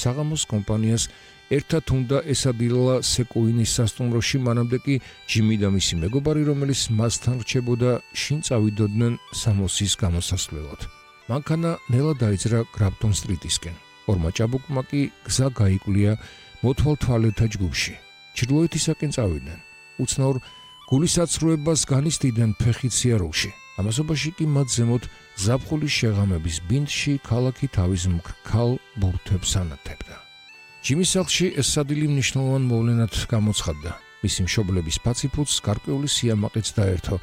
საღამოს კომპანიას ერთად უნდა ესადილა სეკუინის სასტუმროში, მანამდე კი ჯიმი და მისი მეგობარი, რომელიც მასთან რჩებოდა, შინ წავიდოდნენ სამოსის გამოსასვლელად. მანქანა ნელა დაიძრა გრაფტონ სტრიტისკენ. ორმა ჭაბუკმა კი გზა გაიკვლია მოთვალ თვალეთა ჯგუფში. ჩრდილოეთისაკენ წავიდნენ. უცნაურ გულისაცრუებას განიცდიდნენ ფეხით სიარულში. ამასობაში კი მათ ზემოთ ზაფხულის შეღამების ბინდში ქალაქი თავის მქრქალ ბურთებს ანათებდა. ჯიმის სახლში ეს სადილი მნიშვნელოვან მოვლენად გამოცხადდა. მისი მშობლების ფაციფუცს გარკვეული სიამაყეც დაერთო.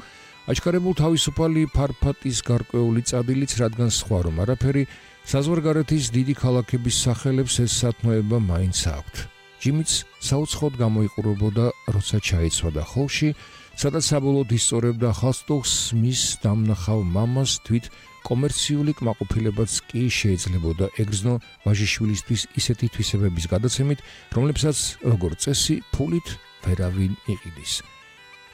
აჩქარებულ თავისუფალი ფარფატის გარკვეული წადილიც, რადგან სხვა რომ არაფერი, საზღვარგარეთის დიდი ქალაქების სახელებს ეს სათნოება მაინც აქვთ. ჯიმიც საუცხოდ გამოიყურებოდა, როცა ჩაიცვადა ხოლში, სადაც საბოლოოდ ისწორებდა ხალხს მის დამნახავ მამას თვით კომერციული კმაყოფილებაც კი შეიძლებოდა ეგრძნო ვაჟიშვილისთვის ისეთი თვისებების გადაცემით, რომლებსაც როგორც წესი ფულით ვერავინ იყიდის.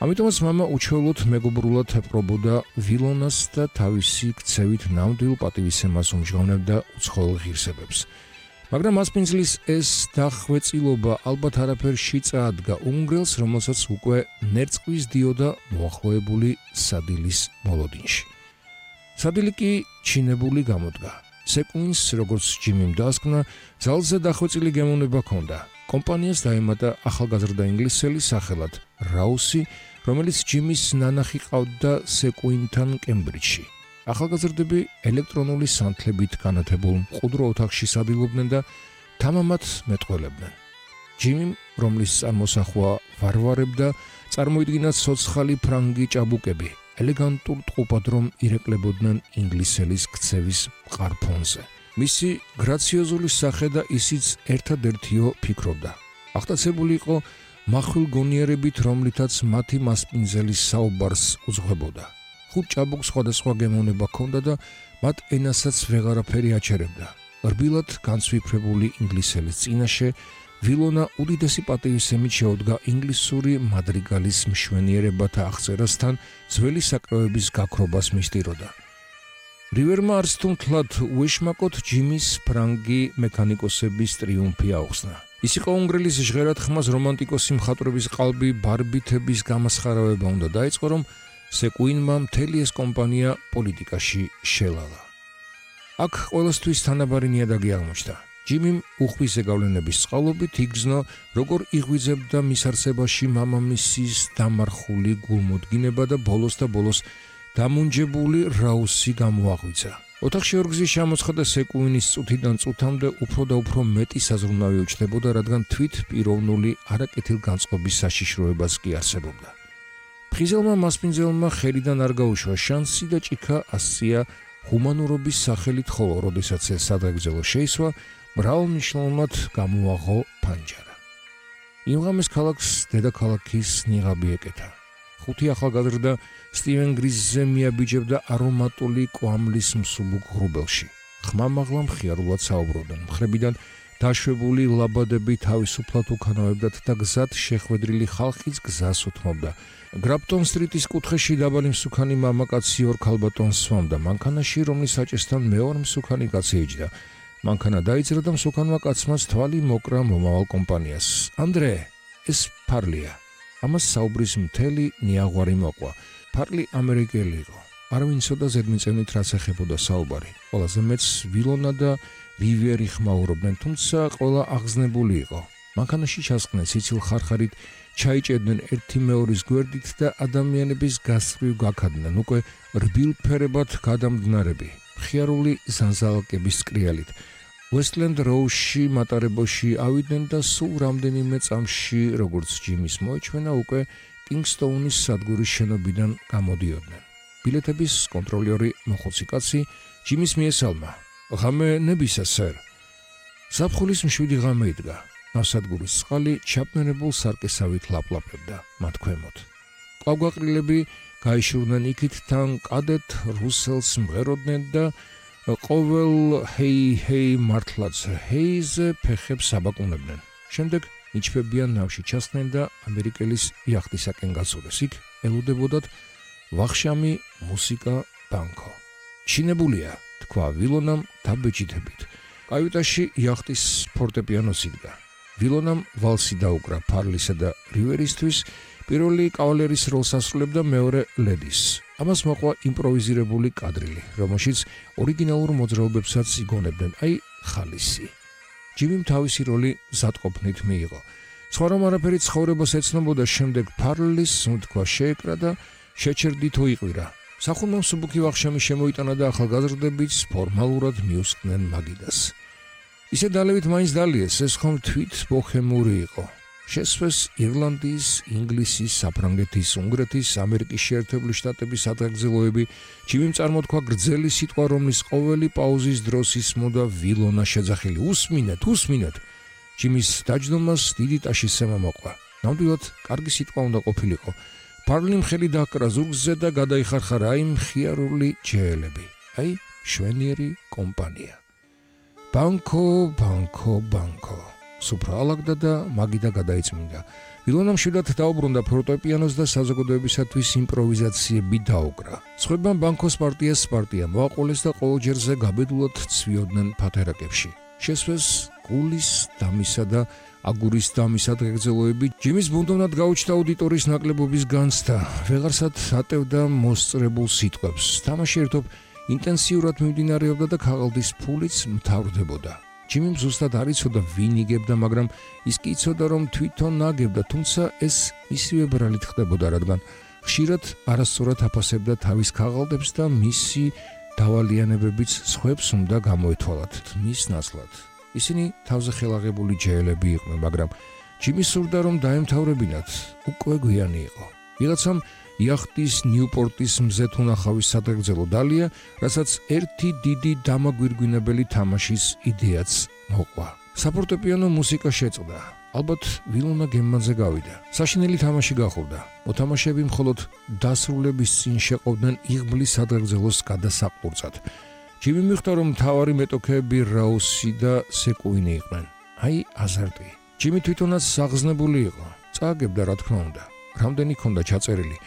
ამიტომაც მამა უჩვეულოდ მეგობრულად ეპყრობოდა ვილონას და თავისი ქცევით ნამდვილ პატივისცემას უმჟღავნებდა უცხოელ ღირსებებს. მაგრამ მასპინძლის ეს დახვეწილობა ალბათ არაფერში წაადგა უნგრელს, რომელსაც უკვე ნერწყვის დიოდა მოახლოებული სადილის მოლოდინში. სადილი კი ჩინებული გამოდგა. სეკუინს, როგორც ჯიმიმ დაასკვნა, ძალზე დახვეწილი გემოვნება ჰქონდა. კომპანიას დაემატა ახალგაზრდა ინგლისელი სახელად რაუსი, რომელიც ჯიმის ნანახი ყავდა სეკუინთან კემბრიჯში. ახალგაზრდები ელექტრონული სანთლებით განათებულ მყუდრო ოთახში სადილობდნენ და თამამად მეტყველებდნენ. ჯიმიმ, რომლის წარმოსახვა ვარვარებდა, წარმოიდგინა ცოცხალი ფრანგი ჭაბუკები, ელეგანტურ ტყუპად რომ ირეკლებოდნენ ინგლისელის ქცევის მყარ ფონზე. მისი გრაციოზული სახე და ისიც ერთადერთიო ფიქრობდა. აღტაცებული იყო მახვილ გონიერებით, რომლითაც მათი მასპინძელის საუბარს უძღვებოდა. ხუთ ჭაბუკს სხვადასხვა გემოვნება ჰქონდა და მათ ენასაც ვეღარაფერი აჩერებდა. რბილად განცვიფრებული ინგლისელის წინაშე ვილონა უდიდესი პატივისცემით შეუდგა ინგლისური მადრიგალის მშვენიერებათა აღწერასთან ძველი საკრავების გაქრობას მისდიროდა. რივერმა არც თუ მთლად უეშმაკოთ ჯიმის ფრანგი მექანიკოსების ტრიუმფი აუხსნა. ის იყო უნგრელის ჟღერად ხმას რომანტიკოსი მხატვრების ყალბი ბარბითების გამასხარავება უნდა დაიწყო, რომ სეკუინმა მთელი ეს კომპანია პოლიტიკაში შელალა. აქ ყველასთვის თანაბარი ნიადაგი აღმოჩნდა. ჯიმიმ უხვის ზეგავლენების წყალობით იგრძნო, როგორ იღვიძებდა მის არსებაში მამამისის დამარხული გულმოდგინება და ბოლოს დამუნჯებული რაუსი გამოაღვიძა. ოთახში ორგზის ჩამოცხადა სეკუინის წუთიდან წუთამდე უფრო და უფრო მეტი საზრუნავი უჩნდებოდა, რადგან თვით პიროვნული არაკეთილგანწყობის საშიშროებას კი არსებობდა. ფხიზელმა მასპინძელმა ხელიდან არ გაუშვა შანსი და ჭიქა ასწია ჰუმანურობის სახელით, ხოლო როდესაც ეს სადღეგრძელო შეისვა, მრავალმნიშვნელოვნად გამოაღო ფანჯარა. იმ ღამეს ქალაქს დედაქალაქის ნიღაბი ეკეთა. ხუთი ახალგაზრდა სტივენ გრიზზე მიაბიჯებდა არომატული კვამლის მსუბუქ ღრუბელში. ხმამაღლა მხიარულად საუბრობდნენ. მხრებიდან დაშვებული ლაბადები თავისუფლად უკანავებდათ და გზად შეხვედრილი ხალხიც გზას უთმობდა. გრაფტონ სტრიტის კუთხეში დაბალი მსუქანი მამაკაცი ორ ქალბატონს სვამდა. მანქანაში, რომლის საჭესთან მეორე მსუქანი კაცი ეჯდა. მანქანა დაიძრა და მსუქანმა კაცმა თვალი მოკრა მომავალ კომპანიას. ანდრე, ეს ფარლია. ამას საუბრის მთელი ნიაღვარი მოყვა. ფარლი ამერიკელი იყო. არავინ იცოდა ზედმიწევნით რაც ეხებოდა საუბარი. ყველაზე მეც ვილონა და ვივერი ხმაურობდნენ, თუმცა ყველა აღზნებული იყო. მანქანაში ჩასყნენ სიცილ ხარხარით, ჩაიჭედნენ ერთი მეორის გვერდით და ადამიანების გასწვრივ გაქადდნენ უკვე რბილფერებად გადამდნარები, მხიარული ზანზალაკების კრიალით. ვესტლენდ როუში მატარებოში ავიდნენ და სულ რამდენიმე წამში, როგორც ჯიმის მოეჩვენა, უკვე კინგსტოუნის სადგურის შენობიდან გამოდიოდნენ. ბილეთების კონტროლერი მოხუცი კაცი ჯიმის მიესალმა. ღამე ნებისა, სერ. ზაფხულის მშვიდი ღამე იდგა. ნავსადგურის წყალი ჩაბმენებულ სარკესავით ლაპლაპებდა მათ ქვემოთ. ყვავგვაყრილები გაიშურნენ იქით თან კადეთ რუსელს მღეროდნენ და ყოველ ჰეი მართლაც ჰეიზე ფეხებს აბაკუნებდნენ. შემდეგ ნიჩბებიან ნავში ჩასხდნენ და ამერიკელის იახტისაკენ გასულეს. იქ ელოდებოდათ ვახშამი მუსიკა ბანკო. ჩინებულია, თქვა ვილონამ დაბეჭდებით. კაიუტაში იახტის ფორტეპიანოს იდგა. ვილონამ ვალსი დაუკრა ფარლისა და რივერისთვის, პირველი კავალერის როლს ასრულებდა მეორე ლედის. ამას მოყვა იმპროვიზირებული კადრილი, რომელშიც ორიგინალურ მოძრაობებსაც იგონებდნენ, აი ხალისი. ჯიმიმ თავისი როლი მზადყოფნით მიიღო. სხვა რომ არაფერი ცხოვრებას ეცნობოდა, შემდეგ ფარლის სუნთქვა შეეკრა და შეჩერდითო იყვირა. სახურმა მსუბუქი ვახშამი შემოიტანა და ახალგაზრდებიც ფორმალურად მიუსხდნენ მაგიდას. ისე დალევით მაინც დალიეს, ეს ხომ თვით ბოჰემური იყო. შესვეს ირლანდიის, ინგლისის, საფრანგეთის, უნგრეთის, ამერიკის შეერთებული შტატების ადრეგზელოები, ჯიმიმ წარმოთქვა გრძელი სიტყვა, რომლის ყოველი პაუზის დროს ისმოდა ვილონა შეძახილი. უსმინეთ. ჯიმის დაჯდომას დიდი ტაშისცემა მოყვა. ნამდვილად კარგი სიტყვა უნდა ყოფილიყო. ფარლიმ ხელი დააკრა ზურგზე და გადაიხარხარა აი მხიარული ჯეელები. აი შვენიერი კომპანია. ბანკო. სუფრა ალაგდა და მაგიდა გადაიწმინდა. ვილონამ შვილად დაუბრუნდა ფორტეპიანოს და საზოგადოებისათვის იმპროვიზაციები დაუკრა. სხვებმა ბანკოს პარტია მოაყოლეს და ყოველჯერზე გაბედულად ცვიოდნენ ფათერაკებში. შესვეს გულის დამისა და აგურის დამის ადრეგზელოები. ჯიმის ბუნდოვნად გაუჩნდა აუდიტორიის ნაკლებობის განცდა. ვეღარსად ატევდა მოსწრებულ სიტყვებს. თამაში ერთობ ინტენსიურად მიმდინარეობდა და ქაღალდის ფულიც მთავრდებოდა. ჯიმიმ ზუსტად არ იცოდა ვინ იგებდა, მაგრამ ის კი იცოდა, რომ თვითონ აგებდა, თუმცა ეს მისივე ბრალით ხდებოდა, რადგან ხშირად არასწორად აფასებდა თავის ქაღალდებს და მისი დავალიანებებიც სხვებს უნდა გამოეთვალათ მის ნაცვლად. ისინი თავზე ხელაღებული ჯეელები იყვნენ, მაგრამ ჯიმი სურდა, რომ დაემთავრებინათ, უკვე გვიანი იყო. ვიღაცამ იახტის ნიუპორტის მზეთ უნახავის სადრეგზელო დალია, რასაც ერთი დიდი დამაგვირგვინებელი თამაშის იდეაც მოყვა. საფორტეპიანო მუსიკა შეწყდა. ალბათ ვილონა გემმანზე გავიდა. საშინელი თამაში გახურდა. მოთამაშეები მხოლოდ დასრულების წინ შეყავდნენ იღბლის სადრეგზელოს გადასაყურცად. ჯიმი მიხვდა, რომ მთავარი მეტოქეები რაუსი და სეკუინი იყვნენ. აი აზარტი. ჯიმი თვითონაც საღზნებული იყო. წააგებდა, რა თქმა უნდა. რამდენი ქონდა ჩაწერილი.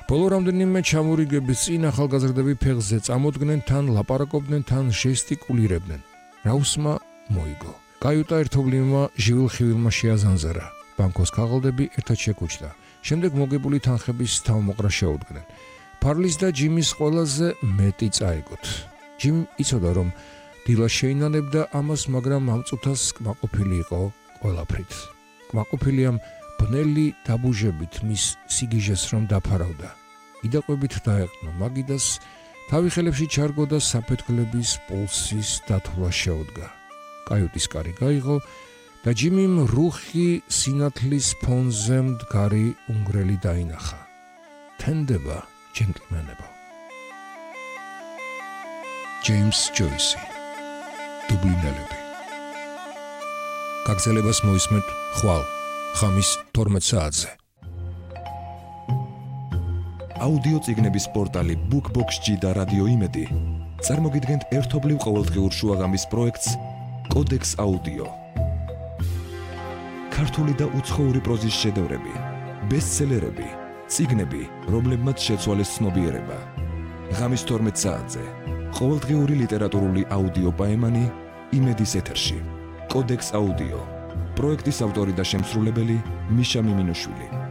ბოლო რამდენიმე ჩამორიგების წინ ახალგაზრდები ფეხზე წამოდგნენ, თან ლაპარაკობდნენ, თან ჟესტიკულირებდნენ. რაუსმა მოიგო. კაიუტა ერთობლივმა ჟივილხივილმა შეაზანზარა. ბანკოს ქაღალდები ერთად შეკუჩდა. შემდეგ მოგებული თანხების თავმოყრა შეუდგნენ. ფარლის და ჯიმის ყველაზე მეტი წაეგოთ. ჯიმ იცოდა, რომ დილა შეინანებდა ამას, მაგრამ ამ წუთას კმაყოფილი იყო ყველაფრით. კმაყოფილიამ ბნელი დაბუჟებით მის სიგიჟეს რომ დაფარავდა. იდაყვებით დაეყნა მაგიდას, თავი ხელებში ჩარგო და საფეთქლების პულსის დათვლა შეუდგა. კაიუტის კარი გაიღო და ჯიმიმ რუხი სინათლის ფონზე მდგარი უნგრელი დაინახა. თენდება ჯენტლმენებო. ჯეიმს ჯოისი. დუბლინელები. გაგზელებას მოისმენთ ხვალ ხამის 12 საათზე. აუდიო წიგნების პორტალი BookBox-G და რადიო იმედი წარმოგიდგენთ ერთობლივ ყოველდღიურ შუაღამის პროექტს კოდექს აუდიო. ქართული და უცხოური პროზის შედევრები, ბესტსელერები, წიგნები, რომლებმაც შეცვალეს ცნობიერება. ღამის 12 საათზე ყოველდღიური ლიტერატურული აუდიო პაემანი იმედის ეთერში. კოდექს აუდიო. პროექტის ავტორი და შემსრულებელი მიშა მიმინუშვილი.